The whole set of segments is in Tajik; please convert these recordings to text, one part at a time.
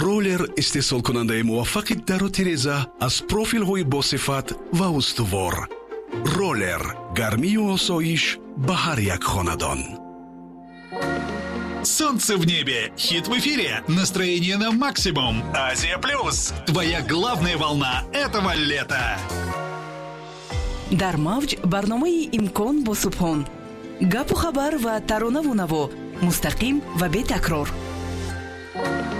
Роллер, истеҳсолкунандаи муваффақи дару тиреза аз профилҳои босифат ва устувор. Роллер, гармию осоиш ба ҳар як хонадон. Солнце в небе, хит в эфире, настроение на максимум. Азия Плюс, твоя главная волна этого лета. Дар мавҷ барномаи «Имкон» бо Субҳон. Гапу хабар ва таронаву наво мустақим ва бетакрор.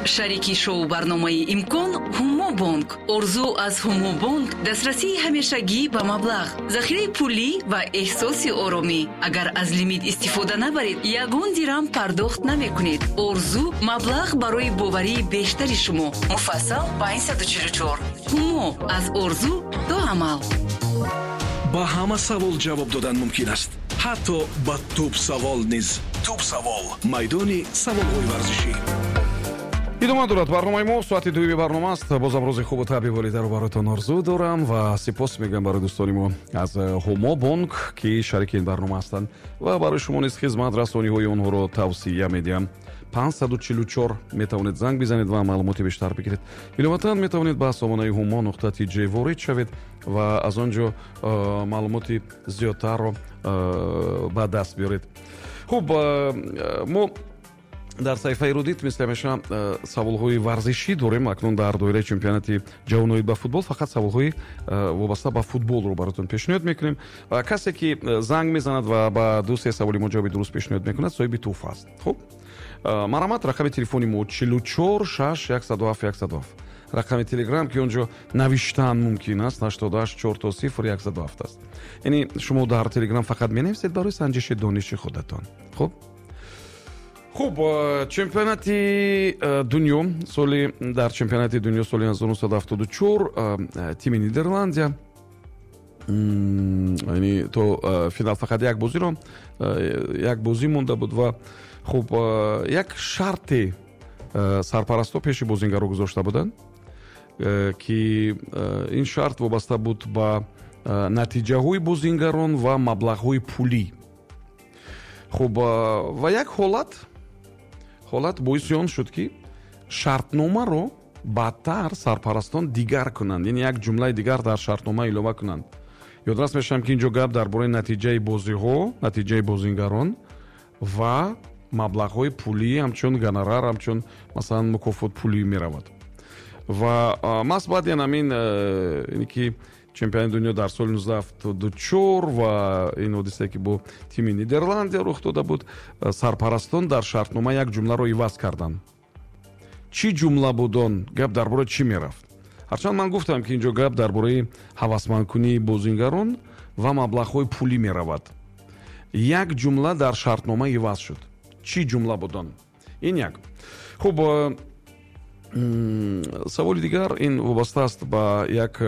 Шарики шоу барномаи «Имкон» Ҳумо Бонк. Орзу аз Ҳумо Бонк: дастрасии ҳамешагӣ ба маблағ, захираи пулӣ ва эҳсоси оромӣ. Агар аз лимит истифода набаред, ягон дирам пардохт намекунед. Орзу: маблағ барои боварии бештари шумо. Муфассал 544. Ҳумо: аз орзу то амал. Ба ҳама савол ҷавоб додан мумкин аст, ҳатто ба тӯб савол низ. Тӯб савол, майдони саволҳои варзишӣ. Идома дорад барномаи мо. Соати дуюми барнома аст. Бозам рӯзи хубу табъи волидаро бароятон орзу дорам ва сипос мегӯям барои дӯстони мо аз Ҳумо Бонк, ки шарики ин барнома ҳастанд, ва барои шумо низ хизматрасониҳои онҳоро тавсия медиҳам. 544, метавонед занг бизанед ва маълумоти бештар бигиред. Иловатан, метавонед ба сомонаи humo.tj ворид шавед ва аз он ҷо маълумоти зиёдтарро ба даст биёред. Хуб, мо дар саҳифаи Рудит, мисли ҳамеша, саволҳои варзишӣ дорем. Акнун дар доираи чемпионати ҷаҳон ба футбол фақат саволҳои вобаста ба футболро баротон пешниҳод мекунем. Касе ки занг мезанад ва ба ду се саволи мо ҷавоби дуруст пешниҳод мекунад, соҳиби тӯҳфа аст. Хуб, марҳамат, рақами телефони мо 44 6 107 107. Рақами Телеграм, ки он ҷо навиштан мумкин аст, 88 4 то 0 107 аст. Яъне шумо дар Телеграм фақат менависед барои санҷиши дониши худатон. Хуб, чемпионати дунё соли дар чемпионати дунё соли 1974 тими Нидерландия, яъне то финал фақат як бозиро, як бозӣ монда буд ва хуб, як шарте сарпарастҳо пеши бозингаро гузошта буданд, ки ин шарт вобаста буд ба натиҷаҳои бозингарон ва маблағҳои пулӣ. Хуб, ва як ҳолат боиси он шуд, ки шартномаро баъдтар сарпарастон дигар кунанд, яъне як ҷумлаи дигар дар шартнома илова кунанд. Ёдрас мешавам, ки ин ҷо гап дар бораи натиҷаи бозиҳо, натиҷаи бозингарон ва маблағҳои пулӣ, ҳамчун гонорар, ҳамчун масалан мукофот пулӣ меравад. Ва маҳз баъди ҳамин, ки чемпионати дунё дар соли 1974 ва ин ҳодисае, ки бо тими Нидерландия рух дода буд, сарпарастон дар шартнома як ҷумларо иваз карданд. Чӣ ҷумла буд он? Гап дар бораи чӣ мерафт? Ҳарчанд ман гуфтам, ки ин ҷо гап дар бораи ҳавасмандкунии бозингарон ва маблағҳои пулӣ меравад, як ҷумла дар шартнома иваз шуд. Чӣ ҷумла буд он? Ин як. Хуб, саволи дигар ин вобаста аст ба як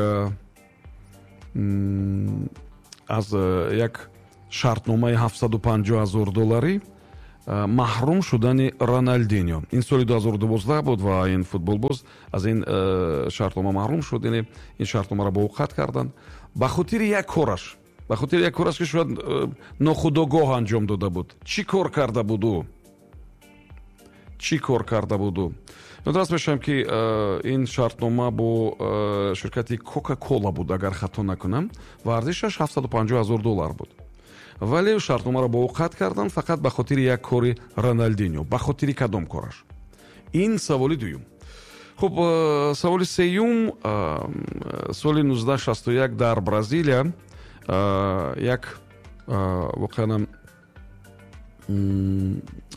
аз як шартномаи 750 ҳазор долларӣ маҳрум шудани Роналдиньо. Ин соли 2012 буд ва ин футболбоз аз ин шартнома маҳрум шуд, яъне ин шартномаро бо ӯ қатъ карданд ба хотири як кораш, ба хотири як кораш, ки шояд нохудогоҳ анҷом дода буд. Чӣ кор карда буд ӯ? Чӣ кор карда буд ӯ? Ёдрас мешавам, ки ин шартнома бо ширкати Кока Кола буд, агар хато накунам, ва арзишаш 750 ҳазор доллар буд, вале шартномаро бо ӯ қатъ карданд фақат ба хотири як кори Роналдиньо. Ба хотири кадом кораш? Ин саволи дуюм. Хуб, саволи сеюм: соли 1961 дар Бразилия як воқеан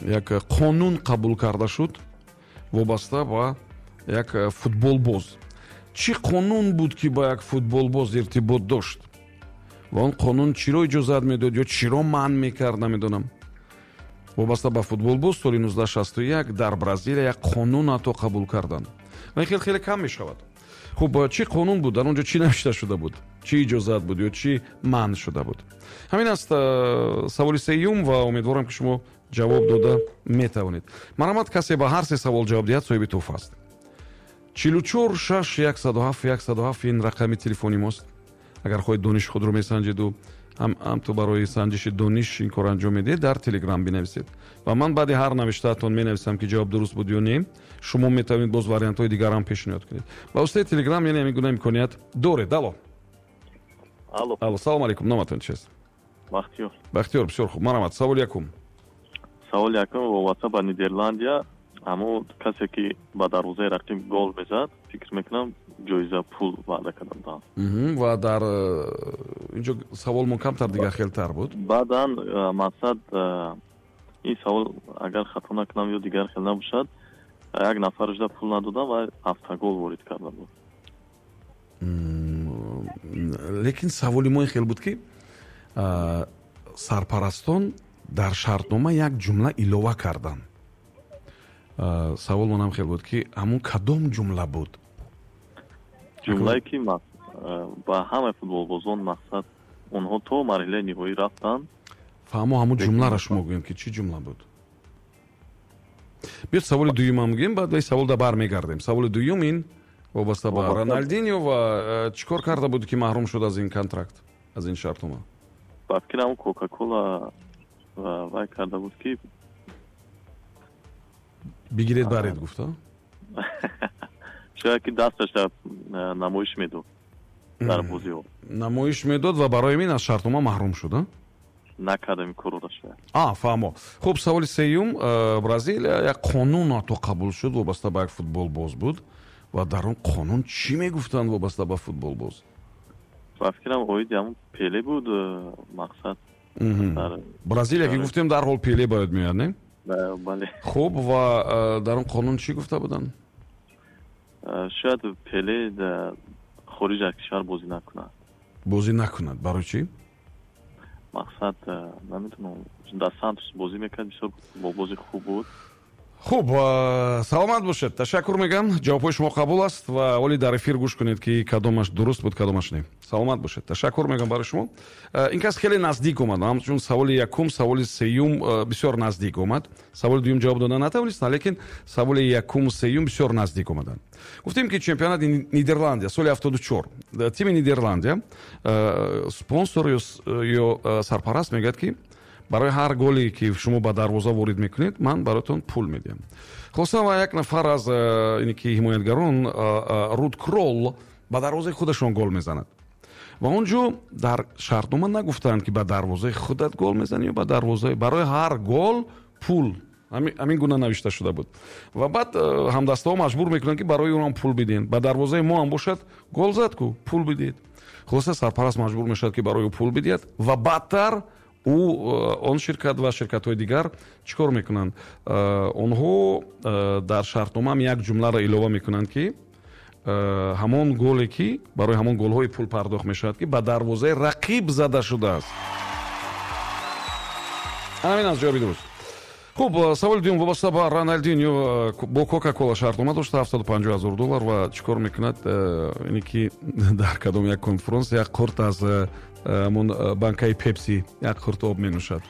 як қонун қабул карда шуд вобаста ба як футболбоз. Чӣ қонун буд, ки ба як футболбоз иртибот дошт, ва он қонун чиро иҷозат медод ё чиро манъ мекард, намедонам. Вобаста ба футболбоз соли 1961 дар Бразилия як қонун ҳатто қабул карданд ва ин хел хеле кам мешавад. Хуб, чӣ қонун буд? Дар он ҷо чӣ навишта шуда буд? Чӣ иҷозат буд ё чӣ манъ шуда буд? Ҳамин аст саволи сеюм ва умедворам, ки шумо ҷавоб дода метавонед. Марҳамат, касе ба ҳар се савол ҷавоб диҳад, соҳиби тӯҳфа аст. 44 6 107 107, ин рақами телефони мост. Агар хоҳед дониши худро месанҷеду Ҳам ту барои санҷиши дониш ин кор анҷом медиҳед, дар Телеграм бинависед ва ман баъди ҳар навиштаатон менависам, ки ҷавоб дуруст буд ё не. Шумо метавонед боз вариантҳои дигарам пешниҳод кунед. Ба воситаи Телеграм, яъне ҳамин гуна имконият доред. Алло. Алло. Алло, салом алейкум, номатон чист? Бахтиёр. Бахтиёр, бисёр хуб, марҳамат, саволи якум. Саволи якум вобаста ба Нидерландия. Ҳамон касе ки ба дарвозаи рақиб гол мезад, фикр мекунам, ҷоиза, пул ваъда карда буданд. Ва дар инҷо саволмон камтар дигар хелтар буд. Баъдан мақсад, ин савол, агар хато накунам ё дигар хел набошад, як нафар шуда пул надодам ва автогол ворид карда буд. Лекин саволи мо ин хел буд, ки сарпарастон дар шартнома як ҷумла илова карданд. Савол манам хел буд, ки ҳамун кадом ҷумла буд? Ҷумлае ки ба ҳамаи футболбозон, мақсад, онҳо то марҳилаи ниҳоӣ рафтанд. Фаҳмо, ҳамун ҷумларо шумо гӯем, ки чӣ ҷумла буд. Биёд, саволи дуюмам гӯем, баъд ба савол да бармегардем. Саволи дуюм ин вобаста ба Роналдиньо ва чӣ кор карда буд, ки маҳрум шуд аз ин контракт, аз ин шартнома? Ба фикрам, Кока-Кола вай карда буд, ки бигиред, баред гуфта. Шояд ки дасташа намоиш медод дар бозиҳо. Намоиш медод ва барои ин аз шартнома маҳрум шуд, накардам ин корро шояд. А, фаҳмо. Хуб, саволи сеюм. Бразилия як қонун ҳатто қабул шуд, вобаста ба як футболбоз буд, ва дар он қонун чӣ мегуфтанд вобаста ба футболбоз? Ба фикрам, оиди ҳамун Пеле буд, мақсад. Бразилия ки гуфтем, дарҳол Пеле бояд меояд, не? Бале. Хуб, ва дар он қонун чӣ гуфта буданд? Шояд Пеле хориҷ аз кишвар бозӣ накунад. Бозӣ накунад, барои чӣ? Мақсад, намедонам, дар Сантос бозӣ мекард, бисёр бозии хуб буд. Хуб, саломат бошед, ташаккур мегӯям, ҷавобҳои шумо қабул аст ва оли дар эфир гӯш кунед, ки кадомаш дуруст буд, кадомаш не. Саломат бошед, ташаккур мегӯям барои шумо. Ин кас хеле наздик омад, ҳамчун саволи якум, саволи сеюм бисёр наздик омад. Саволи дуюм ҷавоб дода натавонист, лекин саволи якум, сеюм бисёр наздик омаданд. Гуфтем, ки чемпионати Нидерландия соли 74, тими Нидерландия, спонсор ё сарпараст мегӯяд, ки барои ҳар голе ки шумо ба дарвоза ворид мекунед, ман бароятон пул медиҳам. Хулоса, ва як нафар аз ине ки ҳимоятгарон, Руд Крол, ба дарвозаи худашон гол мезанад ва он ҷо дар шартнома нагуфтанд, ки ба дарвозаи худат гол мезанӣ ё ба дарвозаи, барои ҳар гол пул, ҳамин гуна навишта шуда буд. Ва баъд ҳамдастаҳо маҷбур мекунанд, ки барои ӯ ҳам пул бидиҳед, ба дарвозаи мо ҳам бошад, гол зад ку, пул бидиҳед. Хулоса, сарпараст маҷбур мешавад, ки барои ӯ пул бидиҳад. Ва баъдтар ӯ, он ширкат ва ширкатҳои дигар чӣ кор мекунанд? Онҳо дар шартномаам як ҷумларо илова мекунанд, ки ҳамон голе ки барои ҳамон голҳои пул пардохт мешавад, ки ба дарвозаи рақиб зада шудааст. Ҳамин аз ҷавоби дуруст. Хуб, саволи дуюм вобаста ба Роналдиньо, бо Кока-Кола шартнома дошта, 750 000 доллар, ва чӣ кор мекунад? Ине ки дар кадом як конференс як қурт аз ҳамон банкаи Пепси, як қурт об менӯшад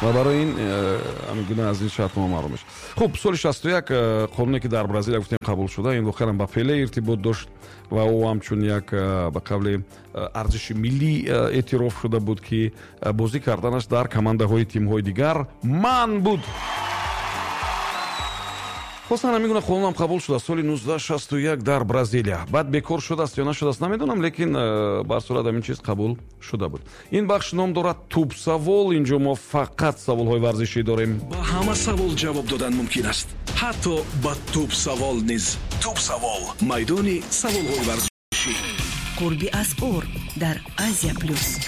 ва барои ин ҳамин гуна аз ин шартнома маҳрум мешавад. Хуб, соли 61 қонуне ки дар Бразилия гуфтем қабул шуда, ин воқеан ба Пеле иртибот дошт ва ӯ ҳамчун як, ба қавли, арзиши миллӣ эътироф шуда буд, ки бозӣ карданаш дар командаҳои тимҳои дигар манъ буд. Хостан, ҳамин гуна қонунам қабул шуда соли 1961 дар Бразилия. Баъд бекор шудааст ё нашудааст, намедонам, лекин бар сурат ҳамин чиз қабул шуда буд. Ин бахш ном дорад «Тӯбсавол». Инҷо мо фақат саволҳои варзишӣ дорем. Ба ҳама савол ҷавоб додан мумкин аст, ҳатто ба тӯбсавол низ. Тӯбсавол, майдони саволҳои варзишӣ. Қурби асъор дар Азия Плюс.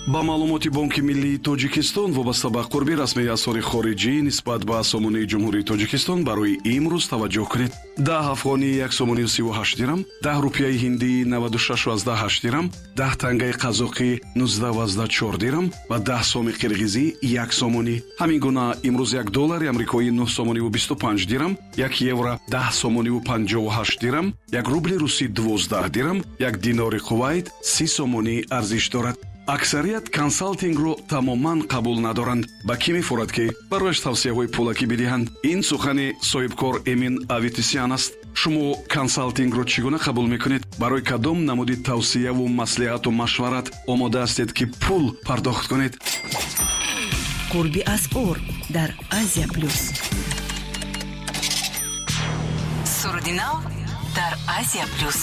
Ба маълумоти Бонки миллии Тоҷикистон вобаста ба қурби расмии асъори хориҷӣ нисбат ба сомонии Ҷумҳурии Тоҷикистон барои имрӯз таваҷҷӯҳ кунед: 10 афғонӣ 1 сомонию 38 дирам, 10 рупияи ҳиндӣ 96,8 дирам, 10 тангаи қазоқӣ 19,4 дирам ва 10 соми қирғизӣ 1 сомонӣ. Ҳамин гуна имрӯз 1 доллари амрикоӣ 9 сомониву 25 дирам, 1 евро 10 сомониву 58 дирам, 1 рубли русӣ 12 дирам, 1 динори Кувайт 30 сомонӣ арзиш дорад. Аксарият консалтингро тамоман қабул надоранд. Ба кӣ мефорад, ки барояш тавсияҳои пулакӣ бидиҳанд? Ин сухани соҳибкор Эмин Аветисян аст. Шумо консалтингро чӣ гуна қабул мекунед? Барои кадом намуди тавсияву маслиҳату машварат омода ҳастед, ки пул пардохт кунед? Қурби асъор дар Азия Плюс. Суруди нав дар Азия Плюс.